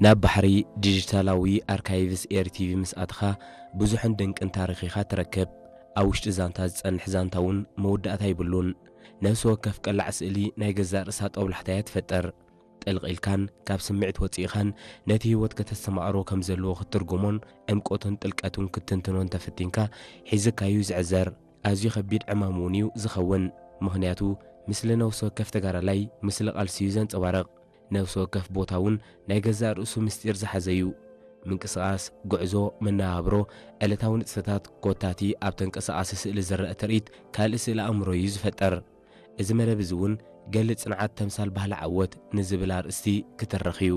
ናብ ባሕሪ ዲጂታላዊ ኣርካይቭስ ኤርቲቪ ምስ ኣትኻ ብዙሕን ድንቅን ታሪኽ ኢኻ ትረክብ። ኣብ ውሽጢ ዛንታ ዝጸንሕ ዛንታ እውን መወዳእታ ይብሉን። ነፍሲ ወከፍ ቀላዕ ስእሊ ናይ ገዛእ ርእሳ ጦብላሕታ እያ ትፈጥር። ጥልቕ ኢልካን ካብ ስምዒት ወጺእኻን ነቲ ህይወት ከተስተማቕሮ ከም ዘለዎ ክትትርጉሞን ዕምቆቱን ጥልቀቱን ክትትንትኖን ተፈቲንካ ሒዝካዩ ዝዕዘር። ኣዝዩ ከቢድ ዕማም እውን እዩ ዝኸውን። ምኽንያቱ፣ ምስሊ ነፍሲ ወከፍ ተጋዳላይ፣ ምስሊ ቃልሲ እዩ ዘንጸባርቕ። ነፍሲ ወከፍ ቦታ እውን ናይ ገዛእ ርእሱ ምስጢር ዝሓዘ እዩ። ምንቅስቓስ፣ ጉዕዞ፣ መነባብሮ፣ ዕለታዊ ንጥፈታት፣ ኮታቲ ኣብ ተንቀሳቓሲ ስእሊ ዝረአ ትርኢት ካልእ ስእሊ ኣእምሮ እዩ ዝፈጥር። እዚ መደብ እዚ እውን ገሊ ጽንዓት ተምሳል ባህሊ ዓወት ንዝብል ኣርእስቲ ክትርኽ እዩ።